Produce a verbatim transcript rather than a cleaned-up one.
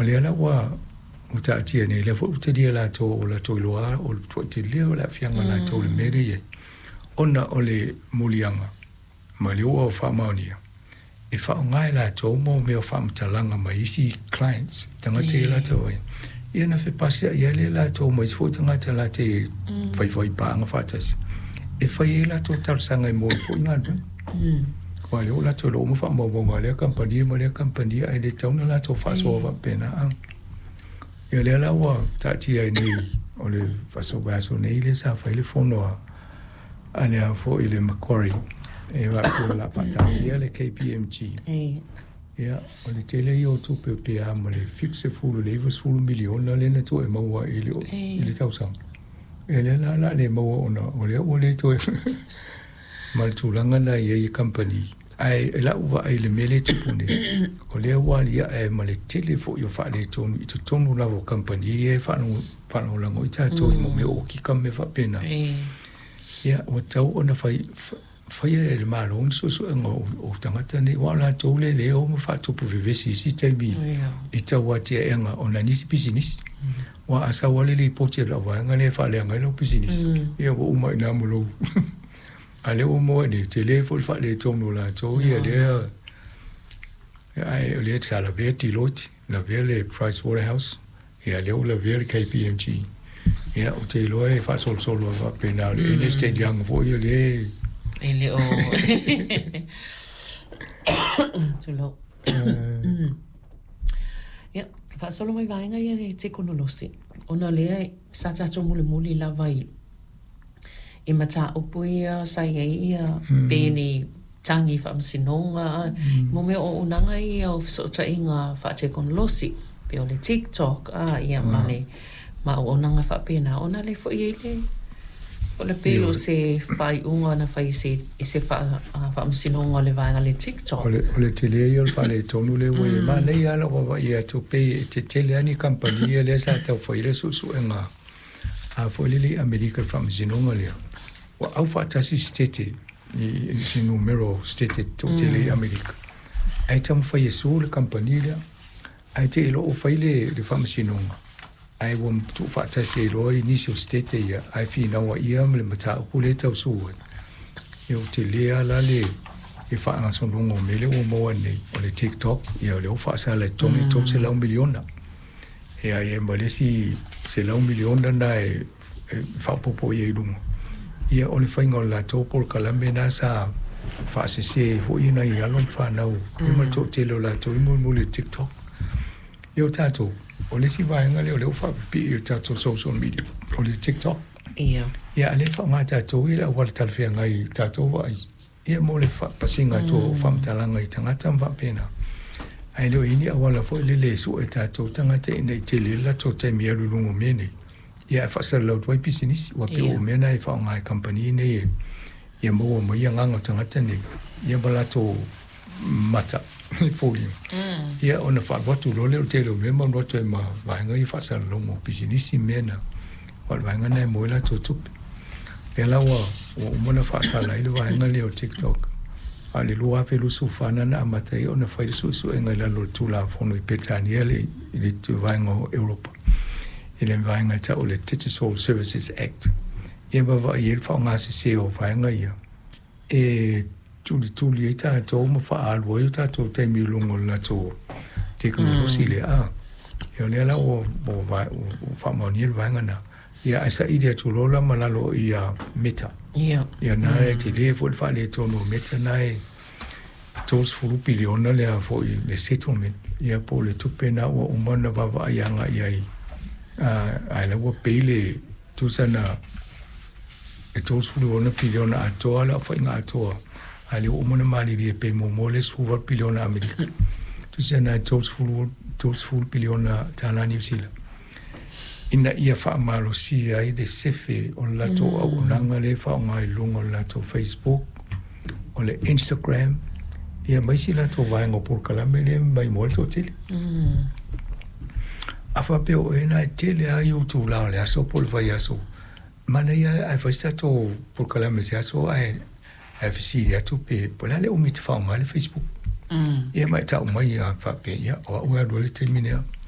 O lea la ua ua taatia nei, lea foi ua talia latou o latou iloa o le tuai tele o le aafiaga o latou i le mea lea e i ai, ona o le muliaga ma le ua faamaonia e faaaoga e latou mo mea o faamatalaga ma isi clients, tagata ia latou ai. Ia na fepasiai ai lea latou ma isi foi tagata latou faifai paaga faatasi e fai ai latou talosaga e mo foi galuega. Aua o lea ua latou iloa uma faamaumauga a lea kamupani ma lea kamupani, ae le tatau ona latou faasoa faapena. Ia lea la ua taatia ai nei o le aso vaiaso nei lea sa fai le fono a a le foi le Macquarie e faapea o le a faataatia le K P M G. Ia, o le tele ia o tupe pe a ma le seventy i le ninety miliona lea na tuu e maua i le, i le tausaga. E lea la la le maua ona o lea ua le toe ma le tulaga na i ai i kamupani. Ae e lau vaai i le mea lea e tupu nei, o lea ua aliae ma le tele foi o faaletonu i totonu lava o kamupani ia e faalagolago i tatou i mea o okika ma mea faapena. Ia, ua tatau ona fai faia e le Malo ni suesuega o, o tagata nei, aua o latou le le o ma faatupu vevesi i isi taimi i tau atiaega ona nisi pisinisi. Ua a sau lava le lipoti a lau vaega lea e faaleaga ai lau pisinisi, ia ua uma i ina ma lou. A lea ua maua nei, tele foi le faaletonu o latou ia lea, ae o lea sa lavea Deloitte, lavea le Price Waterhouse, ia lea ua lavea le K P M G. Ia, ou te iloa e faasolosolo ai faapena o le Ernst and Young foi o lea E le o tulou. Ia, faasolo mai vaega ia le tekonolosi, ona lea sa tatou mulimuli lava i i mataupu ia sa i ai ia pe ni tagi faamasinoga mo mea o auaunaga ia o fesootaiga faatekonolosi pe o le TikTok a ia ma le ma auaunaga faapena ona le foi ai le o le pei o se faaiuga na fai se i se faamasinoga o le vaega le TikTok. O le, o le tele ia o le faaletonu lea ua i ai. Manaia lava lau vaavaai atu pei e tetele lava ni kamupani ia lea sa taufai le suesuega a foi lele i Amerika le faamasinoga lea. Ua aufaatasi sitete i se numera o sitete toatele i Amerika. Ae taumafai e sue le kamupani lea. Ae te i loa ua fai le, le faamasinoga, ae ua tuufaatasi ai loa i nisi o sitete ia, ae finau ia ma le mataupu lea e tau sue ai. Ia ua tele lava la le le faagasologa o mea lea ua maua nei, o le TikTok, ia o lea ua faasala e totogi le three hundred miliona. Ia ia ma le isi one hundred miliona na e, e faaopoopo i ai i luga. Ia o le faiga o le latou polokalame na sa faasese foi nai alo ma fanau mm. ma le toatele o latou i mulimuli i le TikTok. Ia o tatou, o le isi vaega lea o lea ua faapipii i le tatou social media, o le TikTok. Ia. Ia, a lea faaaoga tatou i le auala talafeagai i tatou vaai. Ia mo le pasiga atu o faamatalaga i tagata ma faapena. Ae le o i ai ni auala foi lele e sue tatou tagata ina i tele le latou taimi e alu i luga o mea nei. Ia ae faasalalau atu ai pisinisi, ua pei o mea na e faaaoga e kamupani nei e ia maua mai agaga o tagata nei, ia ma latou mata i foliga. Ia ona faalu atu loa lea o le tele o mea ma alu atu ai ma vaega ia faasalalauga o pisinisi mea na. O le vaega na e maua ai latou tupe. Lea la ua ua uma ona faasala ai le vaega lea o TikTok. A o le twenty twenty-four na na amata ai ona fai le suesuega i lalo o le Tulafono i Peretania le i le vaega o Europa. I le vaega e tau o le Digital Services Act. Ia vaavaai ai le faaaoga sese o vaega ia e tulituli ai tatou ma faaalu ai o tatou taimi i luga o le latou tekonolosi lea. A. Ia o lea la ua ua ua faamaonia le vaega na. Ia ae saili atu loa la ma lalo ia Meta. Ia. Ia na e tele foi le faaletonu o Meta na e thirty piliona lea foi le settlement. Ia po o le tupe na ua uma ona vaavaai agai ai. Ae la ua pei le tusa na e thirty-six piliona atoa le aofaiga atoa. A lea ua uma ona malilie pe muamua le eighteen piliona Amerika. Tusa na e thirty thirty piliona tala Niu Sila. Ina ia faamalosia ai le sefe o le latou auaunaga lea e faaaoga i luga o le latou Facebook, o le Instagram, ia ma isi latou vaega o polokalame lea mai mo le toatele. A faapea o oe na e tele lava i ou itula o le aso po o le vaiaso, manaia ae fai se tatou polokalame se aso ae ae fesili atu pe po o le a le umi e te faaaoga ai le Facebook. Ia ma e tau mai ia faapea, ia o au e alu ai le taimi lea.